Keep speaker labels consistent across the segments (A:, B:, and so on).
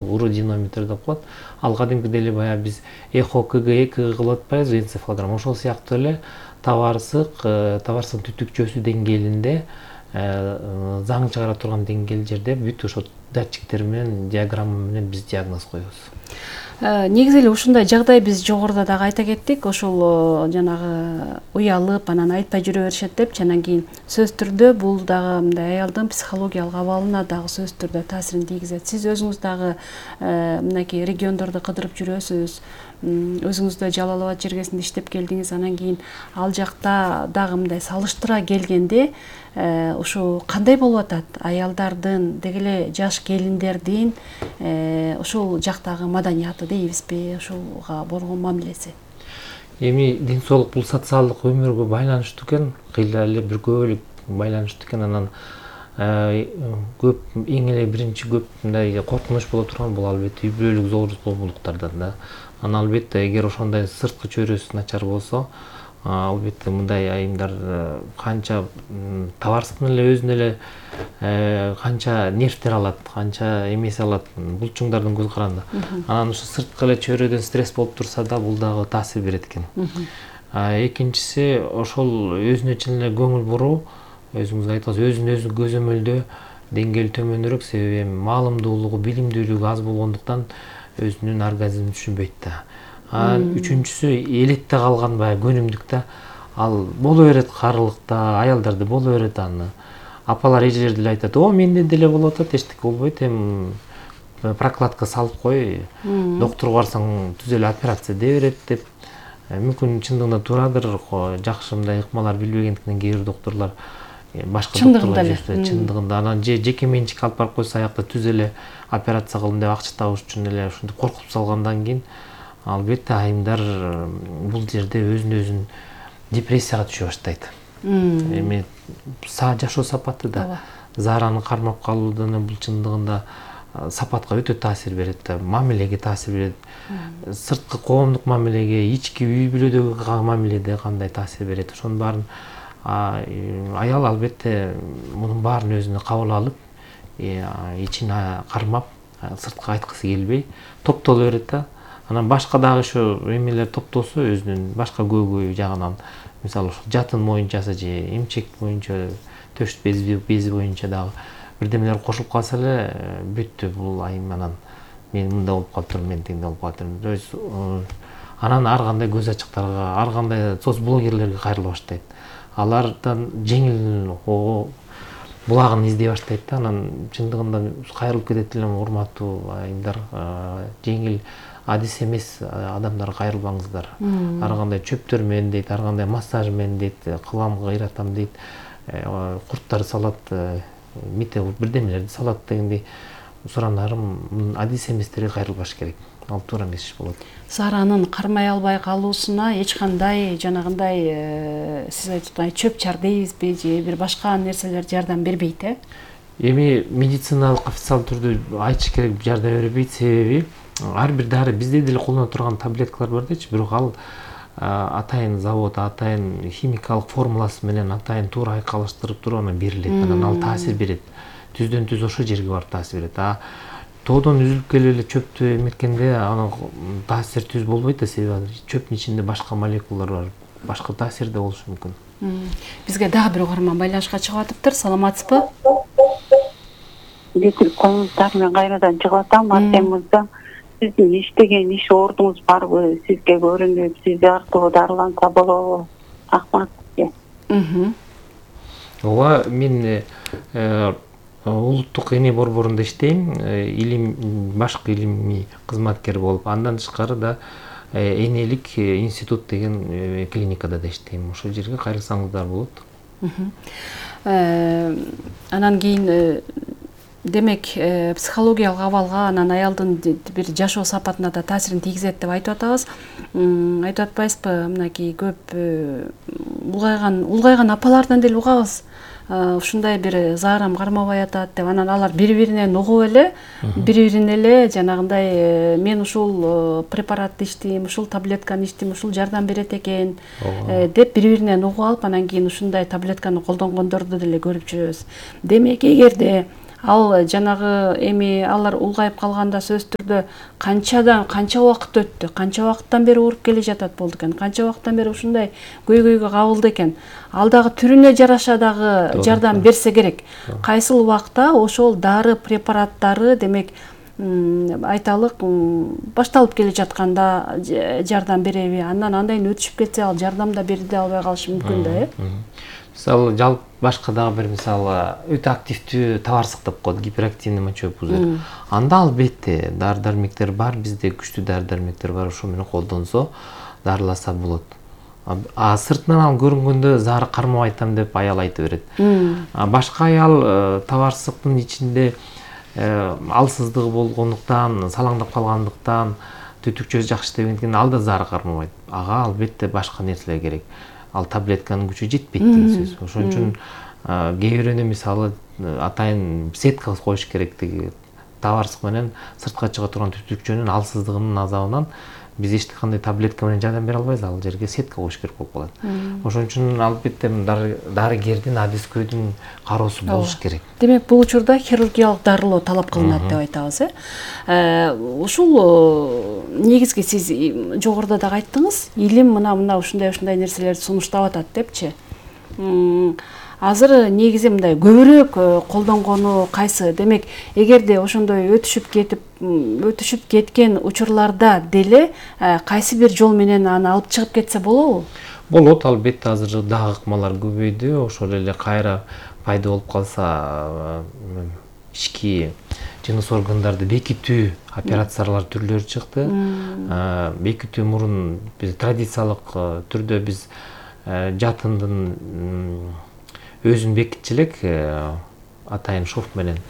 A: уродинометр деп коет. Ал кадимки деле баягы биз эхо КГ кылып атпайбызбы, энцефалограмма. Ошол сыяктуу эле табарсык түтүкчөсү деңгээлинде заң чыгара турган деңгээл жерде бүт ошо датчиктер менен, диаграмма менен биз диагноз коебуз.
B: Негизи эле ушундай жагдай биз жогоруда дагы айта кеттик. Ошол жанагы уялып, анан айтпай жүрө беришет деп, анан кийин сөзсүз түрдө бул дагы мындай аялдын психологиялык абалына дагы сөзсүз түрдө таасирин тийгизет. Сиз өзүңүз дагы мынакей региондорду кыдырып жүрөсүз. Өзүңүздө Жалал Абад жергесинде иштеп келдиңиз. Анан кийин ал жакта дагы мындай салыштыра келгенде ушу кандай болуп атат? Аялдардын, деги эле жаш келиндердин ошол жактагы маданияты дейбизби, ошолга болгон мамилеси?
A: Эми ден соолук бул социалдык өмүргө байланыштуу экен, кыйла эле бир көбөлүк байланыштуу экен. Анан көп эң эле биринчи көп мындай коркунуч боло турган бул албетте үй бүлөлүк зомбулуктардан да. Анан албетте эгер ошондой сырткы чөйрөсү начар болсо, албетте мындай айымдар канча табарсык менен эле өзүнө эле канча нервтер алат, канча эмеси алат булчуңдардын көз каранды. Анан ошо сырткы эле чөйрөдөн стресс болуп турса да бул дагы таасир берет экен. Экинчиси ошол өзүнө чын эле көңүл буруу, өзүңүз айттыңыз, өзүн өзү көзөмөлдөө деңгээли төмөнүрөөк, себеби маалымдуулугу, билимдүүлүгү аз болгондуктан өзүнүн оргазмин түшүнбөйт да. Анан үчүнчүсү элетте калган баягы көнүмдүк да. Ал боло берет карылыкта, аялдарда боло берет аны. Апалар, эжелер деле айтат: "О, менде деле болуп атат, эчтеке болбойт, эми прокладка салып кой, доктурга барсаң түз эле операция дей берет" деп. Мүмкүн чындыгында туурадыр, жакшы мындай ыкмалар билбегендиктен кээ бир доктурлар башка доктурлар чындыгында анан жеке менчик алып барып койсо аякта түз эле операция кылдым деп акча табыш үчүн эле ушинтип коркуп салгандан кийин албетте айымдар бул жерде өзүн өзүн депрессияга түшө баштайт. Эми жашоо сапаты да, заараны кармап калуудан бул чындыгында сапатка өтө таасир берет да, мамилеге таасир берет. Сырткы коомдук мамилеге, ички үй бүлөдөгү мамиледе кандай таасир берет. Ошонун баарын аял албетте мунун баарын өзүнө кабыл алып, ичин кармап, сыртка айткысы келбей топтоло берет да. Анан башка дагы ошо эмелер топтосо өзүнүн башка көйгөй жагынан, мисалы ошо жатын боюнчасы же эмчек боюнча, төш бези боюнча дагы бирдемелер кошулуп калса эле бүттү бул айым. Анан мен мында болуп калыптырмын, мен тигиндей болуп калыптырмын. То есть анан ар кандай көз ачыктарга, ар кандай соцблогерлерге кайрыла баштайт. Алардан жеңил булагын издей баштайт да. Анан чындыгында кайрылып кетет элем, урматтуу айымдар, жеңил адис эмес адамдарга кайрылбаңыздар. Ар кандай чөптөр менен дейт, ар кандай массаж менен дейт, кыламга ыйратам дейт, курттар салат, бирдемелерди салат дегендей. Суранарым, адис эместерге кайрылбаш керек. Ал туура эмес иш болот.
B: Саранын кармай албай калуусуна эч кандай жанагындай сиз айткандай чөп чар дейбизби же бир башка нерселер жардам бербейт,
A: Эми медициналык официалдуу түрдө айтыш керек, жардам бербейт. Себеби ар бир дары бизде деле колдоно турган таблеткалар бар дечи, бирок ал атайын завод, атайын химикалык формуласы менен атайын туура айкалыштырып туруп анан берилет. Анан ал таасир берет. Түздөн түз ошол жерге барып таасир берет. Тоодон үзүлүп келип эле чөптү эметкенде анын таасир түз болбойт да, себеби чөптүн ичинде башка молекулалар бар, башка таасир да болушу мүмкүн.
B: Бизге дагы бир угарман байланышка чыгып атыптыр. Саламатсызбы?
C: Комментар менен кайрадан чыгып атам. Артем мырза, сиздин иштеген иш ордуңуз барбы? Сизге көрүнүп, сиз аркылуу дарыланса болобу? Рахмат сизге.
A: Ооба, мен улуттук эне борборунда иштейм, башкы илимий кызматкер болуп, андан тышкары да энелик институт деген клиникада да иштейм. Ошол жерге кайрылсаңыздар болот.
B: Анан кийин демек психологиялык абалга, анан аялдын бир жашоо сапатына да таасирин тийгизет деп айтып атабыз. Айтып атпайсызбы, мынакей көп улгайган апалардан деле угабыз. Ушундай бир заарам кармабай атат деп, анан алар бири-биринен угуп эле, бири-бирине эле жанагындай мен ушул препаратты иштейм, ушул таблетканы иштейм, ушул жардам берет экен деп бири-биринен угуп алып, анан кийин ушундай таблетканы колдонгондорду деле көрүп жүрөбүз. Демек, эгерде Ал жанагы эми алар улгайып калганда сөзсүз түрдө канча убакыт өттү, канча убакыттан бери ооруп келе жатат болду экен, канча убакыттан бери ушундай көйгөйгө кабылды экен. Ал дагы түрүнө жараша дагы жардам берсе керек. Кайсыл убакта ошол дары препараттары демек айталык башталып келе жатканда жардам береби, андан андайын өтүшүп кетсе ал жардам да бере албай калышы мүмкүн да,
A: Мисалы жалпы башка дагы бир мисалы өтө активдүү табарсык деп коет, гиперактивный мочевой пузырь. Анда албетте дары-дармектер бар, бизде күчтүү дары-дармектер бар, ошо менен колдонсо, дарыласа болот. Сыртынан ал көрүнгөндө зары кармап айтам деп аял айта берет. Башка аял табарсыктын ичинде алсыздыгы болгондуктан, салаңдап калгандыктан, түтүкчөсү жакшы иштебегендиктен ал да зары кармабайт. Ага албетте башка нерселер керек. Ал таблетканын күчү жетпейт деген сөз. Ошон үчүн кээ бирөөнө мисалы атайын сетка коюш керек деген табарсык менен сыртка чыга турган түтүкчөнүн алсыздыгынын азабынан биз эч кандай таблетка менен жардам бере албайбыз, ал жерге сетка коюш керек болуп калат. Ошон үчүн албетте дарыгердин, адискөйдүн кароосу болуш керек.
B: Демек, бул учурда хирургиялык дарылоо талап кылынат деп айтабыз, Ушул негизги сиз жогоруда дагы айттыңыз, илим мына ушундай нерселерди сунуштап атат депчи. Азыр негизи мындай көбүрөөк колдонгону кайсы? Демек, эгерде ошондой өтүшүп кеткен учурларда деле кайсы бир жол менен аны алып чыгып кетсе болобу?
A: Болот, албетте азыр дагы ыкмалар көбөйдү. Ошол эле кайра пайда болуп калса, ички жыныс органдарды бекитүү операциялар түрлөрү чыкты. Бекитүү мурун биз традициялык түрдө биз жатындын өзүн бекитчү элек, атайын шов менен.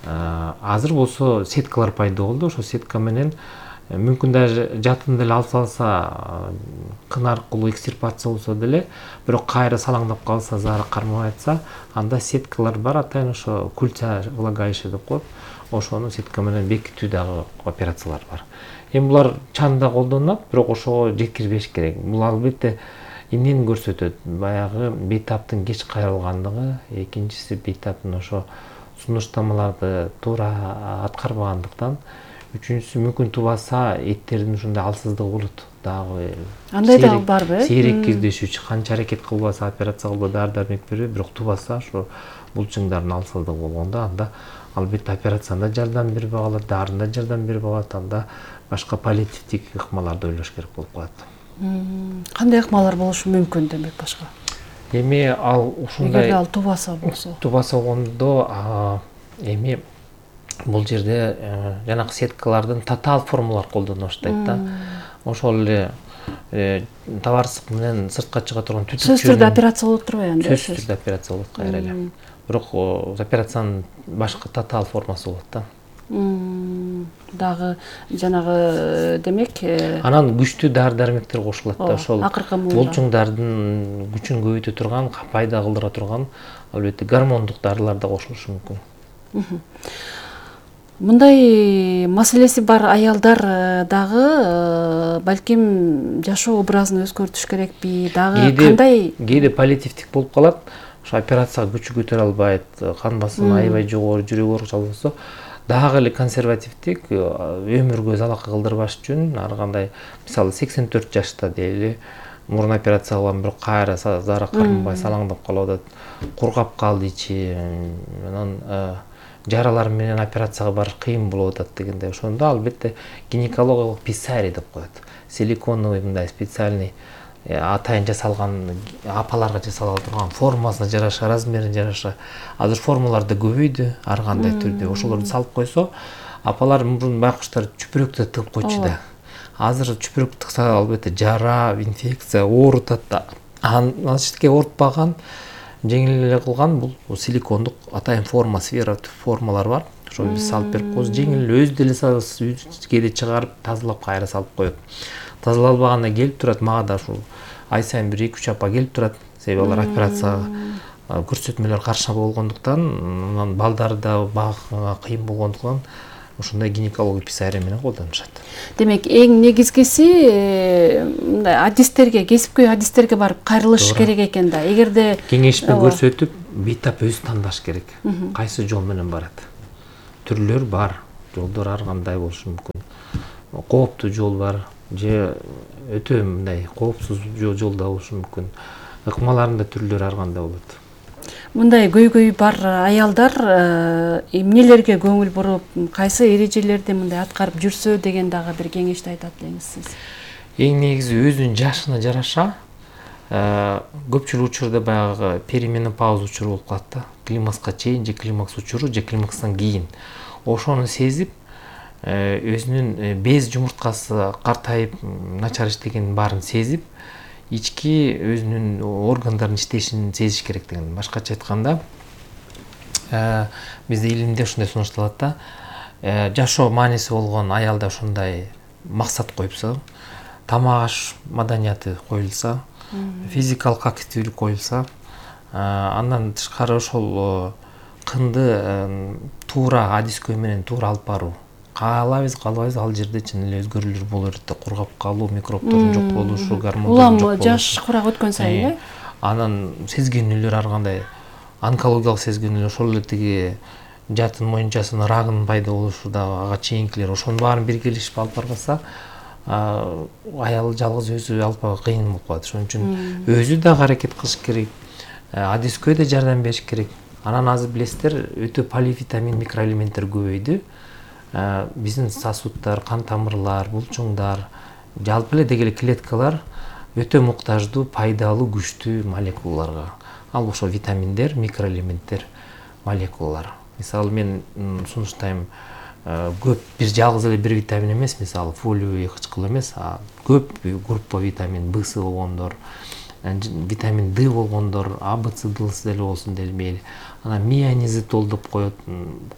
A: Азыр болсо сеткалар пайда болду. Ошо сетка менен мүмкүн даже жатын деле алып салса, кын аркылуу экстирпация болсо деле, бирок кайра салаңдап калса, зары кармабай атса, анда сеткалар бар, атайын ошо культя влагалище деп коет. Ошону сетка менен бекитүү дагы операциялар бар. Эми булар чанда колдонулат, бирок ошого жеткирбеш керек. Бул албетте эмнени көрсөтөт? Баягы бейтаптын кеч кайрылгандыгы, экинчиси бейтаптын ошо сунуштамаларды туура аткарбагандыктан, үчүнчүсү мүмкүн тубаса эттердин ушундай алсыздыгы болот. Дагы
B: андай дагы барбы?
A: Сейрек кездешүүчү, канча аракет кылбаса, операция кылбай дары-дармек бербей, бирок тубаса ошо булчуңдардын алсыздыгы болгондо, анда албетте операцияда жардам бербей калат, дарында жардам бербей калат, анда башка паллиативдик ыкмаларды ойлош керек болуп калат.
B: Кандай ыкмалар болушу мүмкүн демек башка?
A: Эми ал ушундай
B: эгерде ал тубаса болсо.
A: Тубаса болгондо эми бул жерде жанагы сеткалардын тотал формалар колдоно баштайт да. Ошол эле табарсык менен сыртка чыга турган түтүкчөнүн
B: сөзсүз түрдө операция болуп турбайбы анда?
A: Сөзсүз түрдө операция болот кайра эле. Бирок операциянын башка тотал формасы болот да.
B: Дагы жанагы демек
A: анан күчтүү дары-дармектер кошулат да, ошол
B: акыркы
A: булчуңдардын күчүн көбөйтө турган, пайда кылдыра турган албетте гормондук дарылар да кошулушу мүмкүн.
B: Мындай маселеси бар аялдар дагы балким жашоо образын өзгөртүш керекпи? Дагы кандай?
A: Кээде паллиативдик болуп калат. Ошо операцияга күчү көтөрө албайт, кан басымы аябай жогору, жүрөк оорушу болсо, дагы эле консервативдик өмүргө залака кылдырбаш үчүн ар кандай, мисалы 84 жашта дейли, мурун операция кылган, бирок кайра зары кармабай салаңдап калып атат, кургап калды ичи, анан жаралар менен операцияга барыш кыйын болуп атат дегенде, ошондо албетте гинекологиялык писарий деп коет. Силиконовый мындай специальный атайын жасалган, апаларга жасала турган, формасына жараша, размерине жараша азыр формалар да көбөйдү ар кандай түрдө. Ошолорду салып койсо, апалар мурун байкуштар чүпүрөктү тыгып койчу да. Азыр чүпүрөк тыкса албетте жара, инфекция оорутат да. Анчтике оорутпаган, жеңил эле кылган бул силикондук атайын форма, сфера формалар бар. Ошо биз салып берип коебуз, жеңил өзү деле кээде чыгарып, тазалап кайра салып коет. Тазалалбаганда келип турат, мага да ушул ай сайын бир 2-3 апа келип турат. Себеби алар операцияга көрсөтмөлөр каршы болгондуктан, анан балдары да багууга кыйын болгондуктан ушундай гинекология писарий менен колдонушат.
B: Демек, эң негизгиси мындай адистерге, кесипкөй адистерге барып кайрылыш керек экен да. Эгерде
A: кеңешме көрсөтүп, бейтап өзү тандаш керек. Кайсы жол менен барат. түрлөр бар. Жолдор ар кандай болушу мүмкүн. Кооптуу жол бар же өтө мындай коопсуз жолда болушу мүмкүн. Ыкмаларында түрлөр ар кандай болот.
B: Мындай көйгөй бар аялдар эмнелерге көңүл буруп, кайсы эрежелерди мындай аткарып жүрсө деген дагы бир кеңешти айтат элеңиз сиз.
A: Эң негизи өзүнүн жашына жараша көпчүлүк учурда баягы перименопауза учуру болуп калат да. Климакска чейин же климакс учуру же климакстан кийин. Ошону сезип, өзүнүн без жумурткасы картайып, начар иштегенин баарын сезип, ички өзүнүн органдардын иштешин сезиш керек деген. Башкача айтканда, бизде илимде ушундай сунушталат да. Жашоо мааниси болгон аялда ошондой максат коюпса, тамак аш маданияты коюлса, физикалык активдүүлүк коюлса, андан тышкары ошол кынды туура адискөй менен туура алып баруу. Каалайбыз, каалабайбыз, ал жерде чын эле өзгөрүүлөр боло берет да, кургап калуу, микробдордун жок болушу, гормондордун жок
B: болушу. Улам жаш курак өткөн сайын, э?
A: Анан сезгенүүлөр ар кандай онкологиялык сезгенүүлөр, ошол эле тиги жатын моюнчасынын рагынын пайда болушу дагы ага чейинкилер, ошонун баарын биргелешип алып барбаса, аял жалгыз өзү алып баруу кыйын болуп калат. Ошон үчүн өзү дагы аракет кылыш керек, адискөй да жардам бериш керек. Анан азыр билесиздер, өтө поливитамин микроэлементтер көбөйдү. Биздин сосуддар, кан тамырлар, булчуңдар, жалпы эле деги эле клеткалар өтө муктаждуу, пайдалуу, күчтүү молекулаларга. Ал ошо витаминдер, микроэлементтер, молекулалар. Мисалы мен сунуштайм, көп бир жалгыз эле бир витамин эмес, мисалы фолиевый кычкыл эмес, көп группа витамин В болгондор, витамин D болгондор, А, Б, С, Д деле болсун деп мейли. Анан мианизитол деп коет,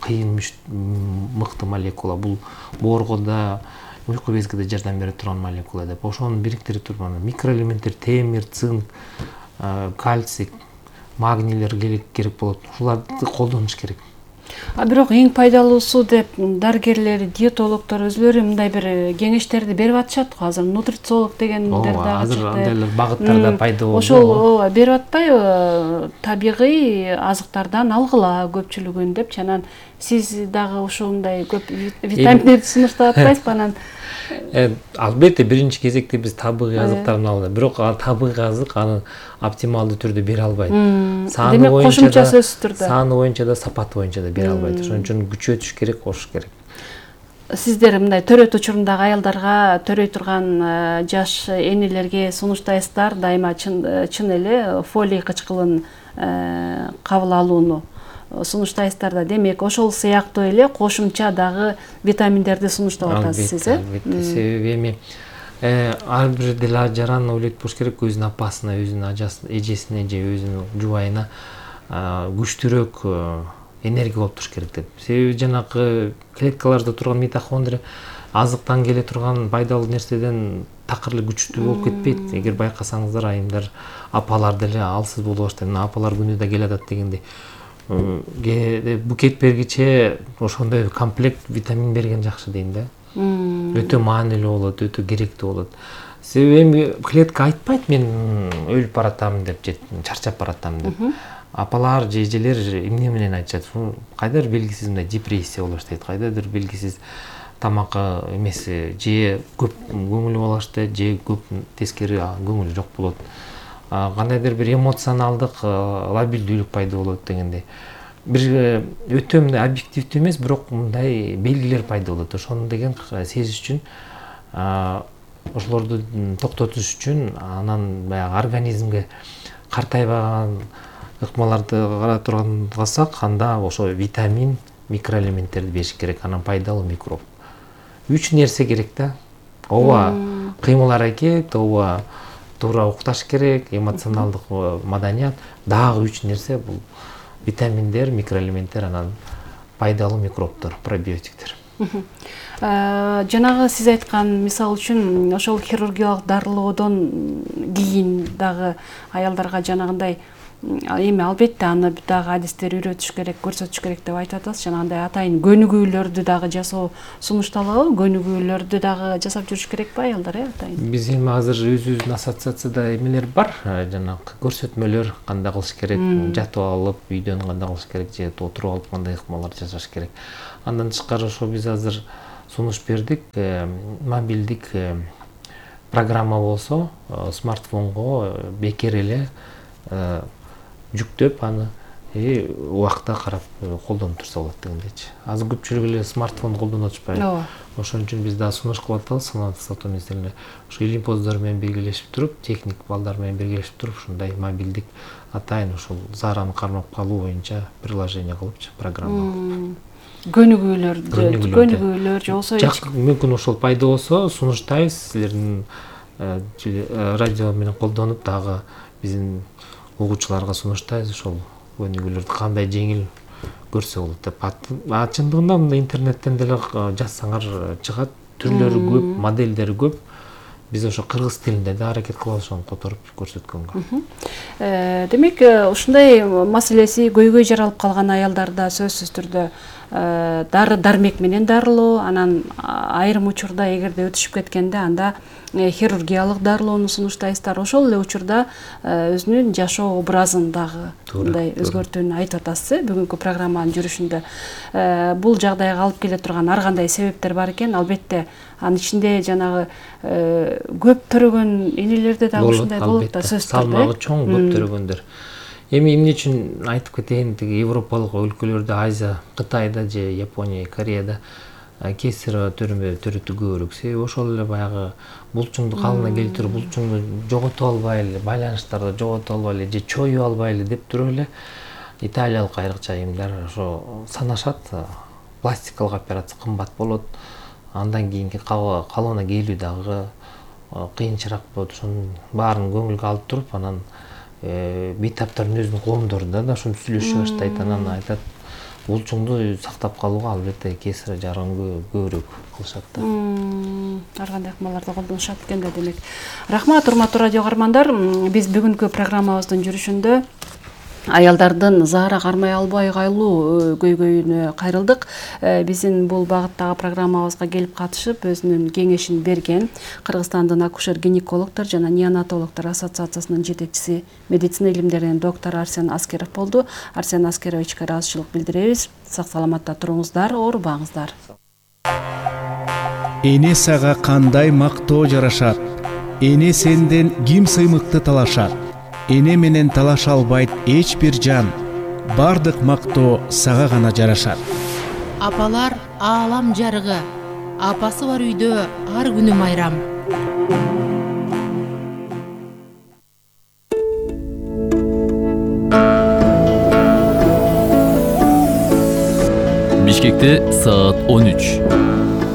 A: кыйын мыкты молекула. Бул боорго уйку безге да жардам бере турган молекула деп. Ошону бириктире туруп микроэлементтер, темир, цинк, кальций, магнийлер керек болот. Ушуларды колдонуш керек.
B: Бирок эң пайдалуусу деп дарыгерлер, диетологдор өзлөрү мындай бир кеңештерди берип атышат го. Азыр нутрициолог дегендер дагы чыкты.
A: Азыр андайлар багыттарда пайда болду.
B: Ошол берип атпайбы, табигый азыктардан алгыла көпчүлүгүн деп, анан сиз дагы ушундай көп витаминдерди сунуштап атпайсызбы анан?
A: Албетте биринчи кезекте биз табигый азыктардан алалы. Бирок табигый азык аны оптималдуу түрдө бере албайт.
B: Демек кошумча сөзсүз түрдө.
A: Саны боюнча да, сапаты боюнча да бере албайт. Ошон үчүн күчөтүш керек, кошуш керек.
B: Сиздер мындай төрөт учурундагы аялдарга, төрөй турган жаш энелерге сунуштайсыздар дайыма чын эле фолий кычкылын кабыл алууну сунуштайсыздар да. Демек ошол сыяктуу эле кошумча дагы витаминдерди сунуштап атасыз сиз, э?
A: Себеби эми ар бир деле жаран ойлойт болуш керек өзүнүн апасына, өзүнүн ажасына, эжесине же өзүнүн жубайына күчтүүрөөк энергия болуп туруш керек деп. Себеби жанагы клеткаларда турган митохондрия азыктан келе турган пайдалуу нерседен такыр эле күчтүү болуп кетпейт. Эгер байкасаңыздар, айымдар, апалар деле алсыз боло баштайт. Апалар күнү да келатат дегендей. Букет бергиче ошондой комплект витамин берген жакшы дейм да. Өтө маанилүү болот, өтө керектүү болот. Себеби эми клетка айтпайт мен өлүп баратам деп, же чарчап баратам деп. Апалар же эжелер эмне менен айтышат? Кайдыр белгисиз мындай депрессия боло баштайт, кайдыр белгисиз тамакка эмес, же көп көңүлү боло баштайт, же көп тескери көңүлү жок болот. Кандайдыр бир эмоционалдык лабилдүүлүк пайда болот дегендей. Бир өтө мындай объективдүү эмес, бирок мындай белгилер пайда болот. Ошону деген сезиш үчүн, ошолорду токтотуш үчүн, анан баягы организмге картайбаган ыкмаларды кара турган кылсак, анда ошо витамин, микроэлементтерди бериш керек, анан пайдалуу микроб. 3 нерсе керек да. Ооба кыймыл аракет, ооба туура укташ керек, эмоционалдык маданият, дагы 3 нерсе бул витаминдер, микроэлементтер, анан пайдалуу микробдор, пробиотиктер.
B: Жанагы сиз айткан мисал үчүн ошол хирургиялык дарылоодон кийин дагы аялдарга жанагындай эми албетте аны дагы адистер үйрөтүш керек, көрсөтүш керек деп айтып атасыз. Жанагындай атайын көнүгүүлөрдү дагы жасоо сунушталабы? Көнүгүүлөрдү дагы жасап жүрүш керекпи аялдар, атайын?
A: Биз эми азыр өзүбүздүн ассоциацияда эмелер бар, жанагы көрсөтмөлөр кандай кылыш керек, жатып алып үйдөн кандай кылыш керек, же отуруп алып кандай ыкмалар жасаш керек. Андан тышкары ошо биз азыр сунуш бердик, мобилдик программа болсо смартфонго бекер эле жүктөп аны убакта карап колдонуп турса болот дегендейчи. Азыр көпчүлүк эле смартфон колдонуп атышпайбы?
B: Ооба.
A: Ошон үчүн биз дагы сунуш кылып атабыз, санаат сатуу министрлигине. Ошо илимпоздор менен биргелешип туруп, техник балдар менен биргелешип туруп, ушундай мобилдик атайын ушул зараны кармап калуу боюнча приложение кылыпчы, программа.
B: Көнүгүүлөр же болсо
A: мүмкүн ошол пайда болсо сунуштайбыз, силердин радио менен колдонуп дагы биздин угуучуларга сунуштайбыз ошол көнүгүүлөрдү кандай жеңил көрсө болот деп. Чындыгында мындай интернеттен деле жазсаңар чыгат, түрлөрү көп, модельдери көп. Биз ошо кыргыз тилинде да аракет кылабыз ошону которуп көрсөткөнгө.
B: Демек, ушундай маселеси көйгөй жаралып калган аялдарда сөзсүз түрдө дары дармек менен дарылоо, анан айрым учурда эгерде өтүшүп кеткенде анда хирургиялык дарылоону сунуштайсыздар. Ошол эле учурда өзүнүн жашоо образын дагы мындай өзгөртүүнү айтып атасыз, бүгүнкү программанын жүрүшүндө. Бул жагдайга алып келе турган ар кандай себептер бар экен. Албетте анын ичинде жанагы көп төрөгөн энелерде дагы ушундай болот да, сөзсүз түрдө.
A: Салмагы чоң көп төрөгөндөр. Эми эмне үчүн айтып кетейин, тиги европалык өлкөлөрдө, Азия, Кытайда же Япония, Кореяда кесарево төрөтүү көбүрөөк. Себеби ошол эле баягы булчуңду калына келтирүү, булчуңду жогото албай эле, байланыштарды жогото албай эле же чоюп албай эле деп туруп эле италиялык айрыкча айымдар ошо санашат, пластикалык операция кымбат болот. Андан кийинки калыбына келүү дагы кыйынчыраак болот. Ошонун баарын көңүлгө алып туруп, анан бейтаптардын өзүнүн коомдорунда да ошону сүйлөшө баштайт. Анан айтат, булчуңду сактап калууга албетте кесарево жарган көбүрөөк кылышат да.
B: Ар кандай ыкмаларды колдонушат экен да, демек. Рахмат, урматтуу радио каармандар. Биз бүгүнкү программабыздын жүрүшүндө аялдардын заара кармай албай калуу көйгөйүнө кайрылдык. Биздин бул багыттагы программабызга келип катышып, өзүнүн кеңешин берген Кыргызстандын акушер-гинекологдор жана неонатологдор ассоциациясынын жетекчиси, медицина илимдеринин доктору Арсен Аскеров болду. Арсен Аскеровичке ыраазычылык билдиребиз. Сак саламатта туруңуздар, оорубаңыздар.
D: Эне сага кандай мактоо жарашат? Эне сенден ким сыймыкты талашат? Эне менен талаша албайт эч бир жан. Бардык мактоо сага гана жарашат.
E: Апалар аалам жарыгы. Апасы бар үйдө ар күнү майрам.
F: Бишкекте саат 13.